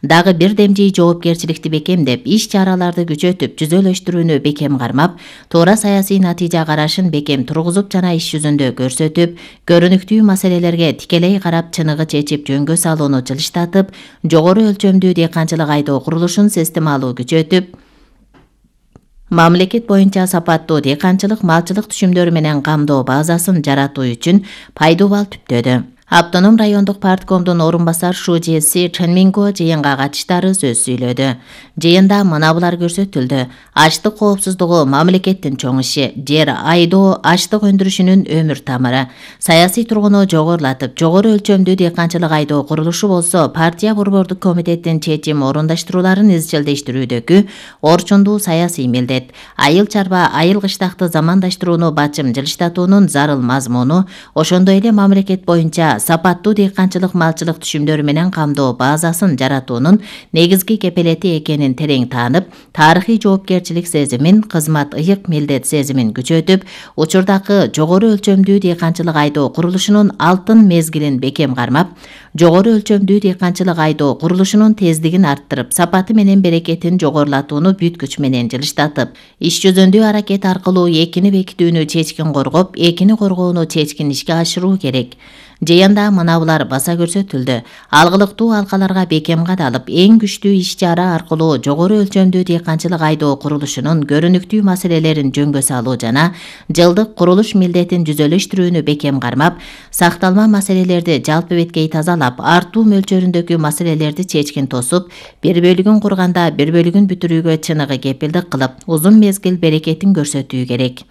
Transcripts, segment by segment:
Дагы бир демжий жоопкерчиликти бекемдеп, иш-чараларды күчөтүп, түзөлөштүрүүнү бекем кармап, туура саясий натыйжа карашын бекем тургузуп жана иш жүзүндө көрсөтүп, көрүнүктүү маселелерге тикелей карап чыныгы чечип жөнгө салууну жылыштатып, жогору өлчөмдүү дыйканчылык айдоо курулушун системалуу күчөтүп, мамлекет боюнча сапаттуу дыйканчылык малчылык түшүмдөрү менен камдоо базасын жаратуу үчүн пайдубал түптөдү. Автоном райондук парткомдун орун басар ШУЖС Ченминго жыйынга катыштары сөз сүйлөдү. Жыйында мына булар көрсөтүлдү. Ачлык коопсуздугу мамлекеттин чоң иши, жер айдоо ачлык өндүрүшүнүн өмүр тамыры. Саясий тургуну жогорулатып, жогору өлчөмдүү дыйканчылык айдоо курулушу болсо партия борбордук комитеттин чечим орундаштырууларын изчилдештирүүдөгү орчундуу саясий милдет. Айыл чарба, айыл кыштакты замандаштырууну бачым жылыштатуунун зарыл мазмуну, ошондой эле мамлекет боюнча сапаттуу дыйканчылык малчылык түшүмдөрү менен камдоо базасын жаратуунун негизги кепелети экенин терең таанып, тарыхый жоопкерчилик сезимин, кызмат ыйык милдет сезимин күчөтүп, учурдагы жогору өлчөмдүү дыйканчылык айдоо курулушунун алтын мезгилин бекем кармап, жогору өлчөмдүү дыйканчылык айдоо курулушунун тездигин арттырып, сапаты менен берекетин жогорулатууну бүт күч менен жылыштатып, иш жүзүндө аракет аркылуу экини бекитүүнү чечкин коргоп, экини коргоону чечкин ишке ашыруу керек. Жыйында мына булар баса көрсөтүлдү. Алгылыктуу алкаларга бекем кадалып, эң күчтүү иш-чара аркылуу жогору өлчөмдүү дыйканчылык айдоо курулушунун көрүнүктүү маселелерин жөнгө салуу жана жылдык курулуш милдетин жүзөлөштүрүүнү бекем кармап, сакталма маселелерди жалпы беткей тазалап, артуу мөлчөрүндөгү маселелерди чечкин тосуп, бир бөлүгүн курганда бир бөлүгүн бүтүрүүгө чыныгы кепилдик кылып, узун мезгил берекетин көрсөтүү керек.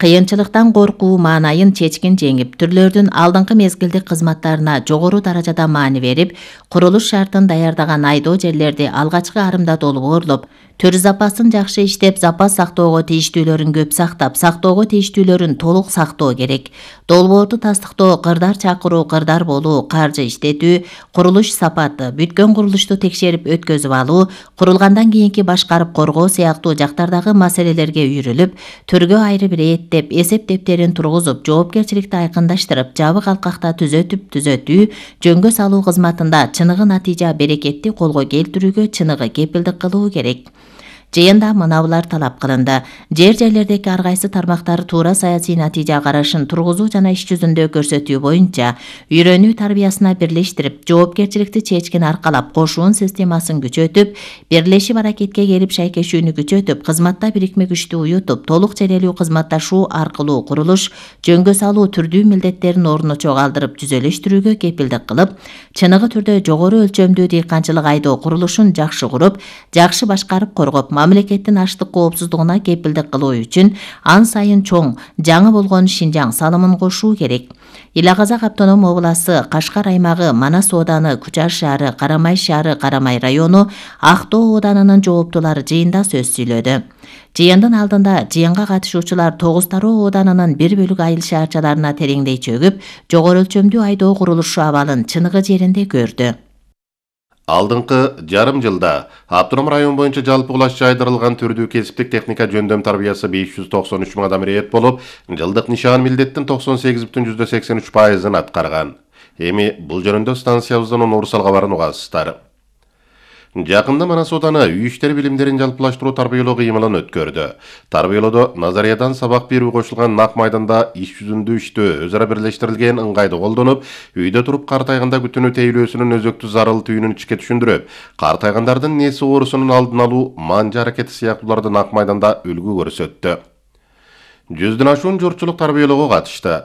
Кыйынчылыктан коркуу маанайын чечкин жеңип, түрлөрдүн алдыңкы мезгилдик кызматтарына жогору даражада маани берип, курулуш шартын даярдаган айдоо жерлерди алгачкы арымда долбоорлоп, төр запасын жакшы иштеп, запас сактоого тийиштүүлөрүн көп сактап, сактоого тийиштүүлөрүн толук сактоо керек. Долбоорду тастыктоо, кырдар чакыруу, кырдар болуу, каржы иштетүү, курулуш сапаты, бүткөн курулушту текшерип өткөзүп алуу, курулгандан кийинки башкарып коргоо сыяктуу жактардагы маселелерге үйрүлүп, төргө айрып рээттеп, эсеп дептерин тургузуп, жоопкерчиликти айкындаштырып, жабык алкакта түзөтүү, жөнгө салуу кызматында чыныгы натыйжа берекетти колго келтирүүгө чыныгы кепилдик кылуу керек. Жыйында мына булар талап кылынды. Жерлердеги ар кайсы тармактар туура саясий натыйжа карашын тургузуу жана иш жүзүндө көрсөтүү боюнча үйрөнүү тарбиясына бирлештирип, жоопкерчиликти чечкин аркалап, кошуун системасын күчөтүп, бирлешип аракетке келип шайкешүүнү күчөтүп, кызматта бирикме күчтү уютуп, толук ченелүү кызматташуу аркылуу курулуш, жөнгө салуу түрдүү милдеттерин ордуна чогалтырып түзөлөштүрүүгө кепилдик кылып, чыныгы түрдө жогору өлчөмдүү дыйканчылык айдоо курулушун жакшы куруп, жакшы башкарып коргоп, мамлекеттин ачлык коопсуздугуна кепилдик кылуу үчүн ан сайын чоң, жаңы болгон Шинжаң салымын кошуу керек. Ила Казак автоном областы, Кашкар аймагы, Манас ооданы, Кучар шаары, Карамай району, Актоо оодарынын жооптулары жыйында сөз сүйлөдү. Жыйындын алдында жыйынга катышуучулар Тогуз Тароо оодарынын бир бөлүк айыл шаарчаларына тереңдей чөгүп, жогору өлчөмдүү айдоо курулушу абалын чыныгы жеринде көрдү. Алдыңкы жарым жылда автоном район боюнча жалпы кулаш жайдырылган түрдүү кесиптик техника жөндөм тарбиясы 593 000 адам ирет болуп, жылдык нишан милдеттин 98,83%ын аткарган. Эми бул жөнүндө станциябыздын Урсал кабарын угасыздар. Жакында Манас ооданы үй иштери билимдерин жалпылаштыруу тарбиялоо кыймылын өткөрдү. Тарбиялоодо назариядан сабак берүү кошулган нак майданда иш жүзүндө иштөө өз ара бирлештирилген ыңгайды колдонуп, үйдө туруп картайганда күтүүнү тейлөөсүнүн өзөктүү зарыл түйүнүн ичке түшүндүрүп, картайгандардын нээси оорусунун алдын алуу, манжа аракети сыяктууларды нак майданда үлгү көрсөттү. 100дөн ашуун журтчулук тарбиялоого катышты.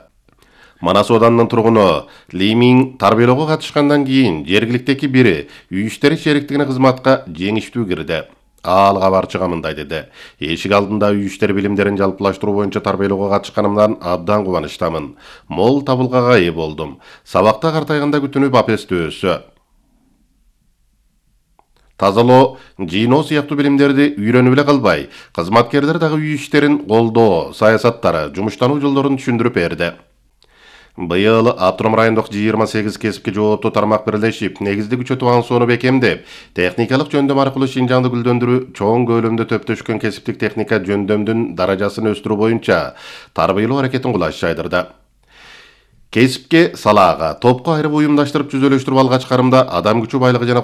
Манас оодарынын тургуну Лимин тарбиялоого катышкандан кийин жергиликтеги бири үй иштери шериктигине кызматка жеңиштүү кирди. Ал кабарчыга мындай деди: "Эшик алдында үй иштери билимдерин жалпылаштыруу боюнча тарбиялоого катышканымдан абдан кубанычтамын. Мол табылгага ээ болдум. Сабакта картайганда күтүүнү бапестүү өссө. Тазалоо, жыйноо сыяктуу билимдерди үйрөнүп эле калбай, кызматкерлер дагы үй иштерин колдоо саясаттары, жумуштануу жолдорун түшүндүрүп берди." Быйыл автоном райондук 28 кесипке жооптуу тармак бирлешип, негизди күчөтүп ансоону бекемдеп, техникалык жөндөм аркылуу Шинжаңды гүлдөндүрүү, чоң көлөмдө төптөшкөн кесиптик техника жөндөмдүн даражасын өстүрүү боюнча тарбиялоо аракетин кулаш жайдырды. Кесипке салаага, топко айырып уюмдаштырып түзөлөштүрүп алгач карымда адам күчү байлыгы жана